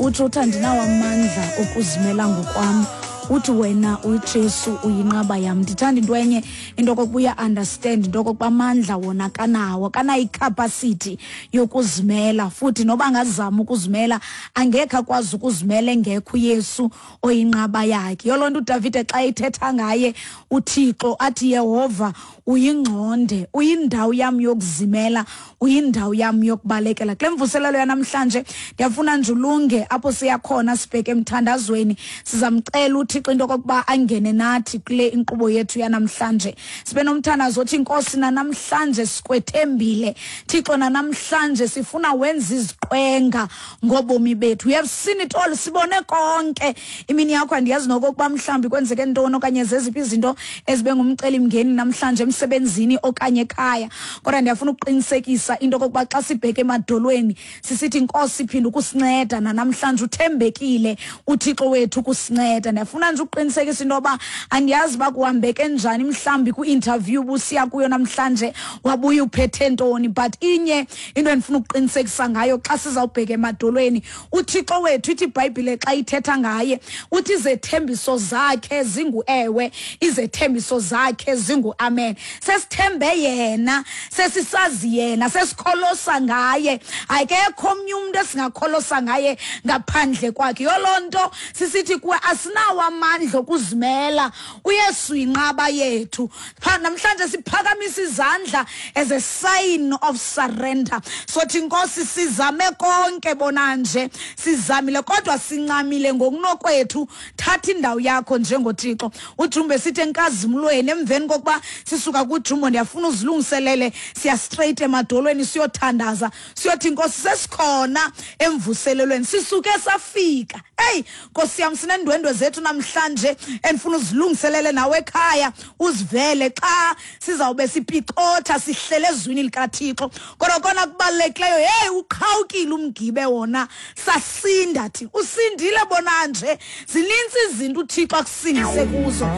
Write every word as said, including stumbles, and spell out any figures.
Utsho uthi, "Andinawo amandla okuzimela ngokwam." Uthi wena uJesu uyinqaba yam. Ndithanda into enye, into okokuba uya-understand into okokuba amandla wona kanawo, kanayo icapacity yokuzimela, futhi noba angazama ukuzimela angekhe akwazi ukuzimela engekho uYesu oyinqaba yakhe. Yiyo loo nto uDavide xa ethetha ngaye uThixo athi, "Yehova uyingxonde, uyindawo yam yokuzimela, uyindawo yam yokubalekela." Kule mvuselelo yanamhlanje ndiyafuna nje ulunge apho siyakhona, sibheke emthandazweni. Sizamcela uThixo into okokuba angene nathi kule inkqubo yethu yanamhlanje, sibe nomthandazo othi, "Inkosi, nanamhlanje sikwethembile Thixo, nanamhlanje sifuna wenza iziqwenga ngobomi bethu." We have seen it all, sibone konke. Imini yakho andiyazi nokokuba mhlawumbi kwenzeke ntoni okanye zeziphi izinto ezibe ngumcelimngeni namhlanje emsebenzini okanye ekhaya, kodwa ndiyafuna ukuqinisekisa into okokuba xa sibheke emadolweni sisithi, "Inkosi, phinda ukusinceda nanamhlanje, uthembekile uThixo wethu ukusinceda." Ndiyafuna nje ukuqinisekisa into yoba andiyazi uba kuhambeke njani mhlawumbi kwi-interview busiya kuyo namhlanje, wabuya uphethe ntoni, but inye into endifuna ukuqinisekisa ngayo xa sizawubheka emadolweni, uThixo wethu, ithi iBhayibhile xa ithetha ngaye, uthi izethembiso zakhe zingu-ewe, izethembiso zakhe zingu-amen. Sesithembe yena, sesisazi yena, sesikholosa ngaye. Akekho omnye umntu esingakholosa ngaye ngaphandle kwakhe. Yiyo loo nto sisithi kuwe, asinawo amandla okuzimela, uYesu yinqaba yethu. Namhlanje siphakamisa izandla as a sign of surrender. Sothi, "Inkosi, sizame konke, bona nje sizamile kodwa sincamile ngokunokwethu, thatha indawo yakho njengoThixo." Ujumbe sithi enkazimlweni emveni kokuba sisuka kujumbo, ndiyafuna uzilungiselele, siya straight emadolweni, siyothandaza, siyothi, "Inkosi, sesikhona emvuselelweni, sisuke safika." Eyi Nkosi yam, sinendwendwe zethu namhlanje endifuna uzilungiselele nawe ekhaya, uzivele xa sizawube sipicotha sihlele ezwini likaThixo. Kodwa kona kubalulekileyo, heyi, uqhawukile umgibe wona, sasinda thina. Usindile bona nje, zinintsi izinto uThixo akusindise kuzo.